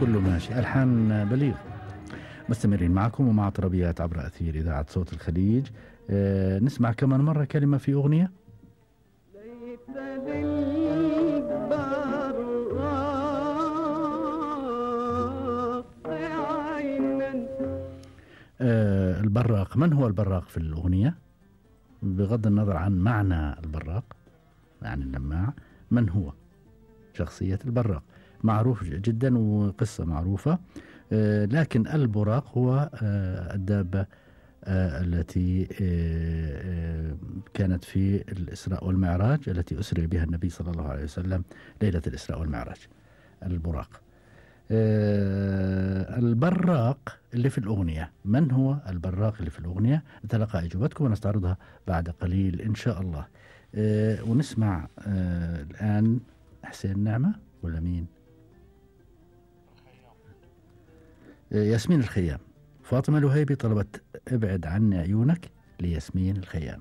كله ماشي. ألحان بليغ. مستمرين معكم ومع طربيات عبر أثير إذاعة صوت الخليج. نسمع كمان مرة كلمة في أغنية. البراق. من هو البراق في الأغنية؟ بغض النظر عن معنى البراق، يعني اللماع، من هو شخصية البراق؟ معروف جدا وقصة معروفة. لكن البراق هو الدابة التي كانت في الإسراء والمعراج، التي أسري بها النبي صلى الله عليه وسلم ليلة الإسراء والمعراج. البراق. البراق اللي في الأغنية، من هو البراق اللي في الأغنية؟ نتلقى إجابتكم ونستعرضها بعد قليل إن شاء الله. ونسمع الآن حسين نعمة ولا مين؟ ياسمين الخيام. فاطمة الوهيبي طلبت ابعد عني عيونك لياسمين الخيام.